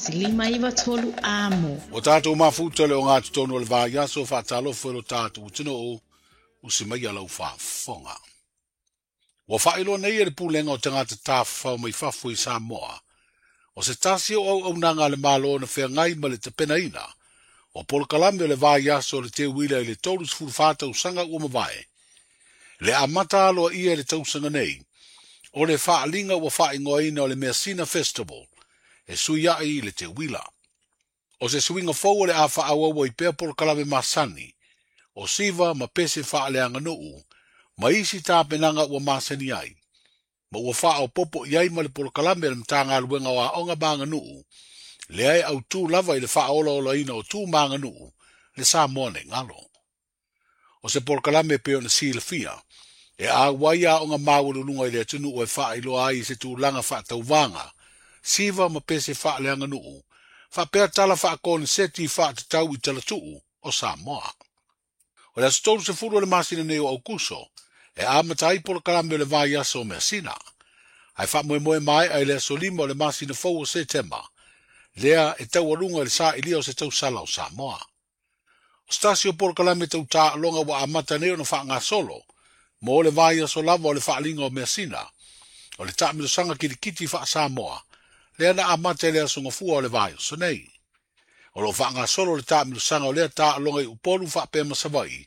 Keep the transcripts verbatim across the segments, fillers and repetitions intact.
tasi lima iva tolu amo. O tātou mafuta le o ngā tonu o le vaiaso whaatalofo e lo tātou tino o si mai alau whaafonga. Ua whaeloa nei e le pulenga o tangata tāwhau mai fafo i Samoa. O se tasi o au au nanga le malo na whengai ma le tapenaina. O polokalame o le vaiaso o le te wila i le tolu sefulu fa tausaga ua mavae. Le amata aloa ia le tausaga nei. O le whaalinga ua whaingoaina o le Measina Festival. E sui ai le te wila. O se suinga fou o le a whaauaua i pea polokalame masani. O siva ma pese whaaleanga nuu. Ma isi tāpenanga ua masani ai. Ma ua whaao popo i ai ma le polokalame le mtanga aluenga o aonga maanga nuu. Le ai au tū lava i le whaola ola ina o tū maanga nuu. Le Samoa nei ngalo. O se polokalame pe o na silafia. E a wai a onga mawalulunga i le atunu o e whaailoa ai i se tūlanga whaatauwanga. Siva ma pese whaaleanga nuu. Whapea tala whaakone seti whaatatau i talatuu o Samoa. O le aso tolu sefulu o le masina nei o Aukuso, e amata ai polokalame o le vaiaso o Measina. Ai whaamoemoe mai ai le aso lima o le masina fou o Setema. Lea e taualunga i le sa'ilia o se tausala o Samoa. O se tasi o polokalame tau tā'aloga ua amata nei ona fa'agasolo, mo le vaiaso lava o le fa'aliga o Measina, o le ta'amilosaga kilikiti fa'asamoa, lea na amata i le aso gafua o le vaiaso nei. O loo fa'agasolo le ta'amilosaga o lea tā'aloga i Upolu fa'apea ma Sava'i,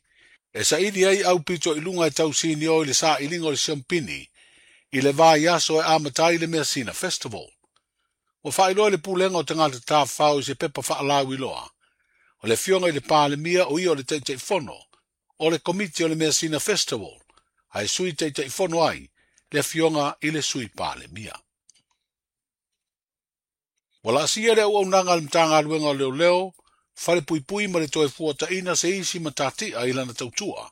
e sa'ili ai aupito i luga e tausini o i le sa'iliga o le siompini, i le vaiaso e amata ai le Measina Festival. Ua fa'ailoa le pulega o tagata tafafao i se pepa fa'alauiloa. O le afioga i le Palemia o ia o le Taitaifono, o le Komiti o le Measina Festival, ae sui Taitaifono ai le afioga i le Sui Palemia. Ua la'asia le auaunaga a le Matagaluega o Leoleo, falepuipui ma le toe fuataʻina se isi matati'a i lana tautua,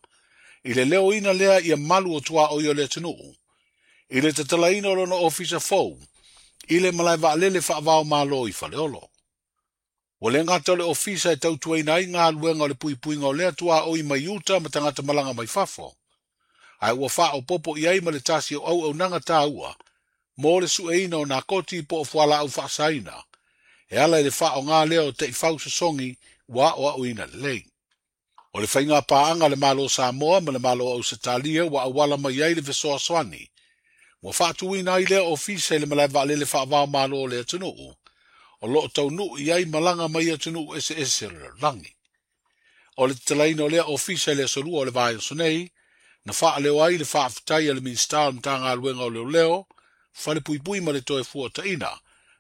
i le leoina lea ia malu o tuaʻoi o le atunuu, i le tatalaina o lona ofisa fou, i le malae vaalele faavao malo i Faleolo. Ua le gata o le ofisa e tautuaina ai galuega o le puipuiga o lea tuaʻoi mai uta ma tagata malaga mai fafo, ae ua faaopopo i ai ma le tasi o auaunaga tāua, mo le sueina o nakoti po o fualaau faasaina, e ala i le faaogā lea o taʻifau sosogi ua aʻoaʻoina lelei. O le faiga paaga le Malo Samoa ma le Malo o Ausetalia ua auala mai ai le fesoasoani. Ua faatuina ai lea ofisa i le malae vaalele faavao malo o le atunuu, o loo taunuu i ai malaga mai atunuu eseese o le lalolagi. O le tatalaina o lea ofisa i le aso lua o le vaiaso nei, na faaleo ai le faafetai a le Minisita o le Matagaluega o Leoleo, falepuipui ma le toe fuataʻina,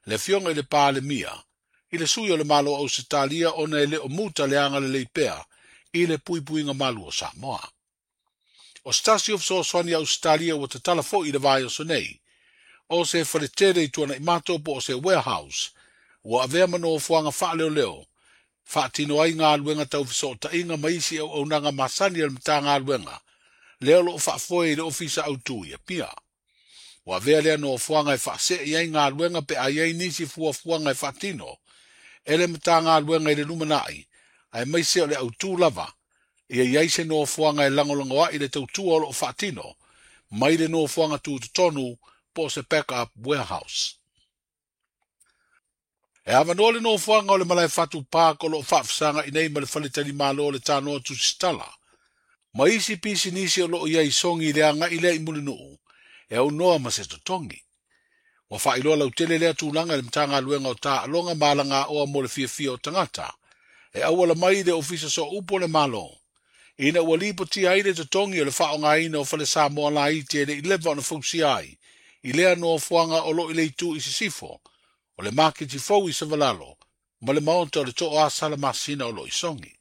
le afioga i le Palemia, i le sui o le Malo o Ausetalia ona e le o muta le agalelei pea i le puipuiga malu o Samoa. O se tasi o fesoasoani a Ausetalia ua tatala fo'i i le vaiaso nei, o se faletele i Tuanaimato po o se warehouse, ua avea ma nofoaga faaleoleo, faatino ai galuega tau fesootaiga ma isi auaunaga masani a le Matagaluega, lea o loo faafoe i le ofisa autū i Apia. Ua avea lea nofoaga e faase'i ai galuega pe a iai nisi fuafuaga e faatino, e le Matagaluega i le lumana'i, aemaise o le autū lava, ia iai se nofoaga e lagolagoa'i le tautua o loo faatino, mai le nofoaga tutotonu po o se backup warehouse. E avanoa le nofoaga o le malae fatu park o loo faafesagaʻi nei ma le faletalimalo o le Tanoa Tusitala. Ma isi pisinisi o loo iai sogi i le agaʻi lea i Mulinuu, e aunoa ma se totogi. Ua faailoa lautele lea tulaga i le Matagaluega o Taaloga ma Alagaoa mo le fiafia o tagata, e auala mai i le ofisa sooupu o le Malo, ina ua lipotia ai le totogi o le faaogaina o fale Samoa laiti e leʻi leva ona fausia ai, i lea nofoaga o loo i le itu i sisifo, o le maketi fou i Savalalo, ma le maota o le Tooasala masina o loo i Sogi.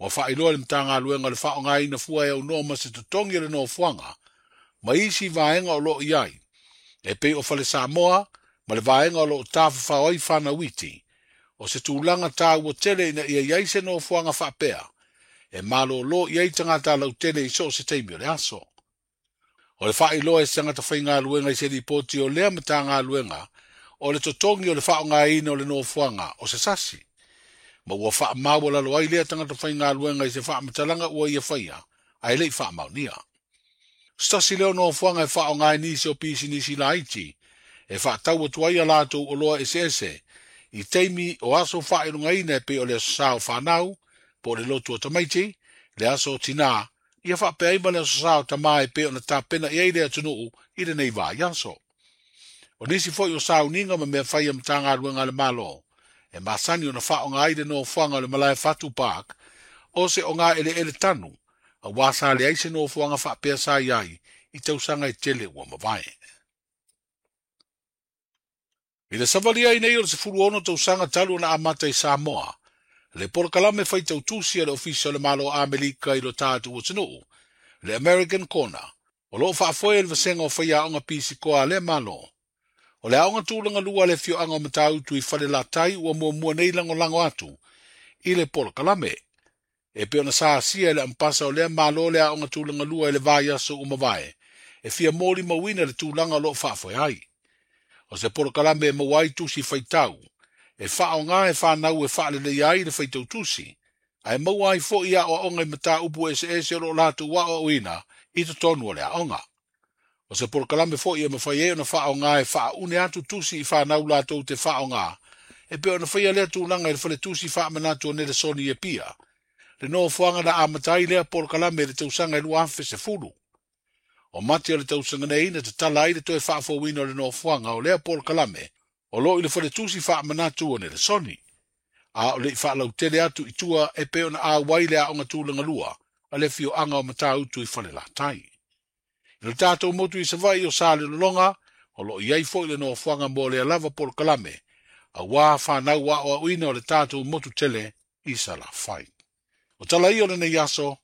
Ua faailoa le Matagaluega o le faaogaina fua e aunoa ma se totogi o le nofoaga, ma isi vaega o loo i ai, e pei o fale Samoa ma le vaega o loo tafafao ai fanauiti, o se tulaga tāua tele ina ia iai se nofoaga faapea, e malōlō i ai tagata lautele i so o se taimi o le aso. O le faailoa e se tagata faigaluega i se lipoti o lea Matagaluega, o le totogi o le faaogaina o le nofoaga o se sasi. Ma ua faamaualalo ai lea tagata faigaluega i se faamatalaga ua ia faia, ae leʻi faamaonia. Se tasi lea o nofoaga e faaaoga ai nisi o pisinisi laiti, e faatau atu ai a latou oloa eseese, I taimi o aso faailogaina e pei o le aso sa o fanau, po o le lotu o tamaiti, le aso o tinā, ia faapea ai ma le aso sa o tamā e pei ona tapena i ai le atunuu i lenei vaiaso. O nisi foi o sauniga ma mea fai a Matagaluega a le Malo, e masani ona faaaoga ai le nofoaga o le Malae Fatu Park, o se oga eleele tanu, auā sa leai se nofoaga faapea sa i ai i tausaga e tele ua mavae. I le savalia ai nei o le sefulu ono tausaga talu ona amata i Samoa, le polokalame faitautusi a le Ofisa o le Malo Amerika i lo tatou atunuu, le American Corner, o loo faafoe e le vasega o faiaoga pisikoa a lea Malo. O le aoga tulaga lua a le afioaga o Matautu i Falelatai ua muamua nei lagolago atu i le polokalame. E pei ona sa asia e le ampasa o lea Malo le aoga tulaga lua i le vaiaso ua mavae, e fia molimauina le tulaga o loo faafoe ai. O se polokalame e maua ai tusi faitau, e faaoga e fanau e faaleleia ai le faitautusi, ae maua ai foi aoaoga i mataupu eseese o loo latou aoaoina i totonu o le aoga. O se polokalame foi e mafai ai ona faaoga e faaune atu tusi i fanau latou te faaoga, e pei ona faia lea tulaga i le faletusi faamanatu o Nelesoni e Pia, le nofoaga na amata ai lea polokalame i le tausaga e lua afe sefulu. O mate o le tausaga nei na tatala ai le toe faafouina o le nofoaga o lea polokalame o loo i le faletusi faamanatu o Nelesoni. A o le i faalautele atu i tua e pei ona auai le aoga tulaga lua a le afioaga o Matautu i Falelatai. I le tatou motu i Savaii o Salelologa, o loo i ai foi le nofoaga mo lea lava polokalame, auā fanau aoaoina o le tatou motu tele i Salafai. O tala ia o lenei aso,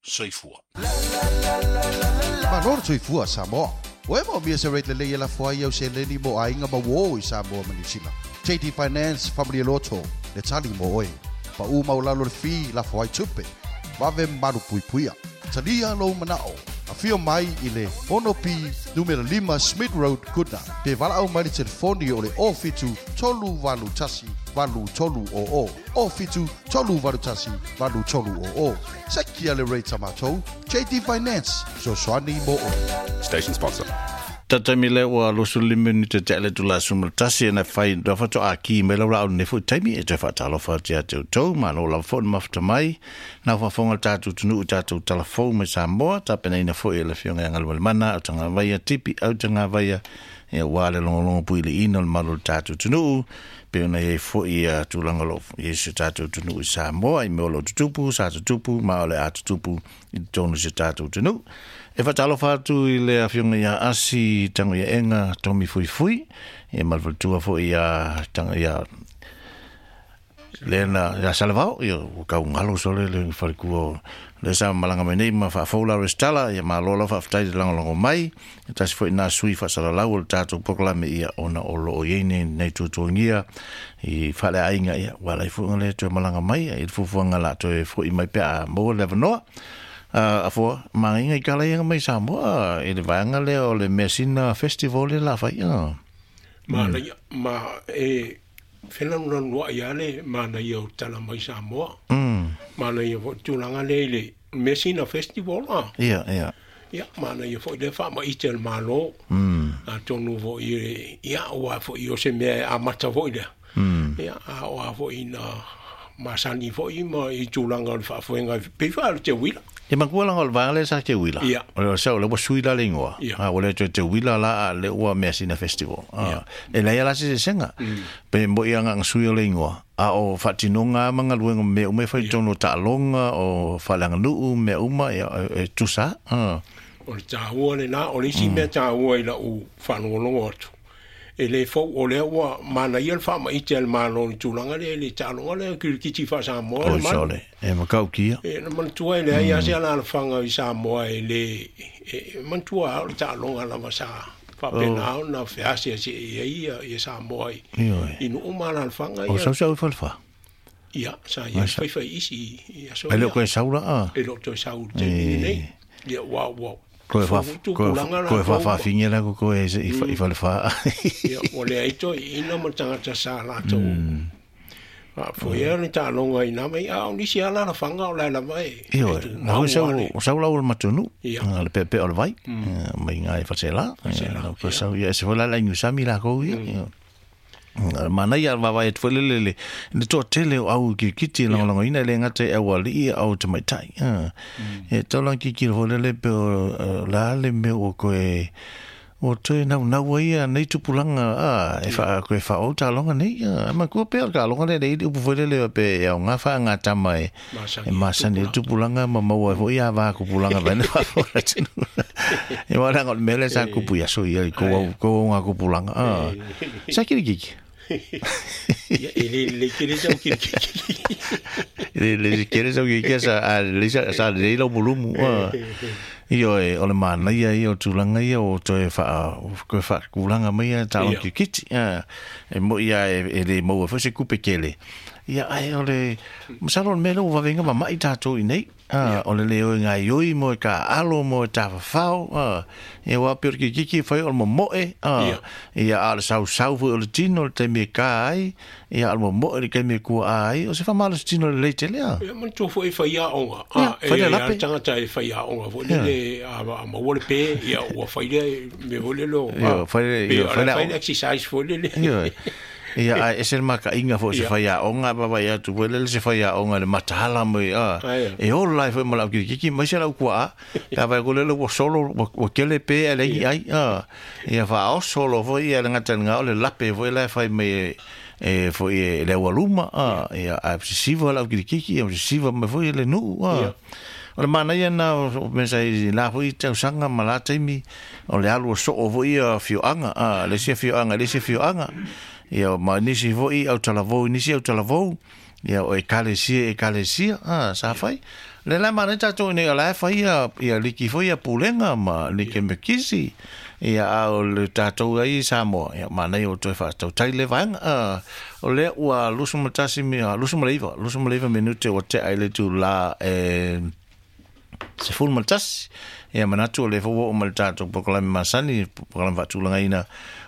soifua. Malo le soifua Samoa. Ua e maomia se rate lelei e lafo ai au seleni mo aiga ma uō i Samoa ma Niu Sila. J D Finance Family Loto, le tali mo oe. Paʻu maualalo le fee lafo ai tupe. Vave malu puipuia. Talia lou manao. Afio mai i le ono P numera lima Smith Road, Goodna. Pe valaau mai le telefoni o le o fitu tolu valu tasi valu tolu o o. O fitu tolu valu tasi valu tolu o o. Sekia le rate a matou. J D Finance. Sosoani mo oe. Station sponsor. Tatami le ua lusu lima minute te ale tula sumal tasi na fai da fato a ki me laura au nefu taimi e te whaatalofa te ate utou ma lo lau fo mafta mai na whafonga tātou tunu tātou talafou me Samoa tapena ina fo e le fionga anga le mana au tanga vaia tipi au tanga vaia e wā le longolongo pui le ina le malo tātou tunu pe ona e fo i a tūlanga lo yesu tātou tunu i Samoa i me olo tutupu sa tutupu ma ole a tutupu i tonu se tātou tunu. E whatalofa atu i le afionga ia Asi tango ia enga Tomi Fuifui e malvaltua fo ia tango ia Lena ia Salavao ia kau ngalo sole le whalikua le sa malanga mai nei ma whaafoula restala ia malola whaaftai te langolongo mai e tasi fo i nā sui whaasalalau o le tātou pokalame ia ona o loo iei nei nei tutuangia i whale ainga ia wala i fuanga le toe malanga mai i fufuanga la toe fo i mai pea mō le wanoa. Uh, afoa, maringa i kala ianga mai Samoa e le vaanga lea o le Mesina Festival le la whai. Ma, mm. ma e whenanunanua ia le mana ia o tala mai Samoa. Mm. Mana ia fo tūlanga le le Mesina Festival. Ah. Ia, ia. Ia, mana ia fo i le wha ma i te malo. Mm. A tonu fo i ia oa fo i o se mea a mata fo i lea. Mm. Ia, a oa fo i na masani fo i ma i tūlanga o le whaafuenga pei wha le te wila. E makua langa o le vaanga le sa te wila. Ia. O le sa o le sui la le ingoa. Ia. A o le te wila la le ua Mesina Festival. Ia. E leia la se senga. Mm. Pe mo ia nga sui o le ingoa. A o whatinonga manga luenga me ume whai tono ta'alonga o whalanganuu me uma e, e tusa. Ah. O le tāua le nā, o le isi mea tāua i la u whanongolongo atu. E le fau o lea ua mana ia le whaama i te al malo ni tūlanga le le tālonga le kirikiti wha Samoa. O sole, e makau kia. E na mantua e le ai ase ala alfanga i Samoa e le, e mantua o le tālonga lava sa whapena o na whease ase e ia i Samoa i. I nu uma ala alfanga ia. O sau sau i whalwha? Ia, sa ia whai whai isi i aso ia. E leo koe saura a? E leo koe saura te nei. Ia, wau, wau. Koe whawhawhingia la koe i whalewha. Ia, o lea ito i ina ma tangata sa lātou. Fo ia ni tālonga i nā mai, a o nisi ala la whanga o lai lava e. Io, nā hoi sau lau o le matunu, le pepe o le vai, mai ngā e whatsela. Ko sau ia, se fo la la inusami la kou ia. Mana ia vavae atu foi le le le toatele o au kirikiti e lagolagoina e lē gata i auali'i au tamaitai e taulaga kikilo foi lele pe o la le mea ua koe o toe naunau ai ia nei tupulaga a e faa koe faaou taloga nei a matua pea o le taloga lea le upu foi lele pe e aoga faagatama e e masani i tupulaga ma maua ai foi avā kupulaga vaena faafofoga e uaga o le mea lea sa kupu i aso ia i kou au kou auga kupulaga a sa kilikiki Ia e le le kele sau kilikiki le le kele sau kilikiki sa a le sa sa le lau mulumu a Ioe, o le manaia ia o tulaga ia o toe faa koe faakulaga mai ia taloga kirikiti a e mo'i a e lē maua foi se kupe kele ia ae o le masalo o le mea lea ua vaveina mama'i tatou i nei a o le lē o e gaioi mo e kā'alo mo e tafafao a ia ua pei o le kirikiki e fai o le momo'e a ia a o le sausau foi o le tino le taimi e kā ai ia a o le momo'e le taimi e kua'a ai o se faamalosi tino lelei tele a ia manatua foi e fai a'oga a e fai le lape tagata e fai a'oga foi lele a maua le pē ia ua fai lea mea foi lele o fai le fai le exercise foi lele ia ae ese le makaiga foi se fai aoga vavaai atu foi lele se fai aoga le mataala mai a e ola ai foi ma lau kirikiki mai se lau kua'a pe afai ko lele ua solo ua kele pē ae leai ni ai a ia faaoso loa foi ia le gata i lega o le lape foi la e fai mai e foi e le aualuma a ia ae sisiva lau kirikiki ia sisiva mai foi le nu'u a o le manaia na o mea sa i la foi tausaga ma la taimi o le alu o soo foi ia fioaga a le isi afioaga le isi afioaga ia ma nisi foi au talavou nisi au talavou ia o ekalesia ekalesia a sa fai le la manaia tatou nei o la e fai ia ia liki foi ia pulega ma like mekisi ia a o le tatou ai i Samoa ia manaia o toe faatautai le vaega a o lea ua lusu ma tasi lusu ma le iva lusu ma le iva minute ua te'a i le itulā e sefulu ma le tasi ia manatu o le foi ua oo mai le tatou polokalame masani polokalame faatulagaina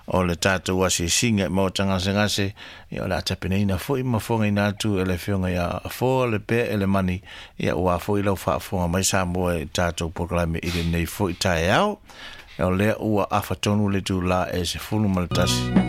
o le tatou asiasiga i maua tagasegase ia o le a tapenaina foi ma fogaina atu e le afioga ia Afoa le Pea e le Mani ia ua foi lau faafofoga mai Samoa i tatou polokalame i lenei foi taeao o lea ua afa tonu le itulā e sefulu ma le tasi.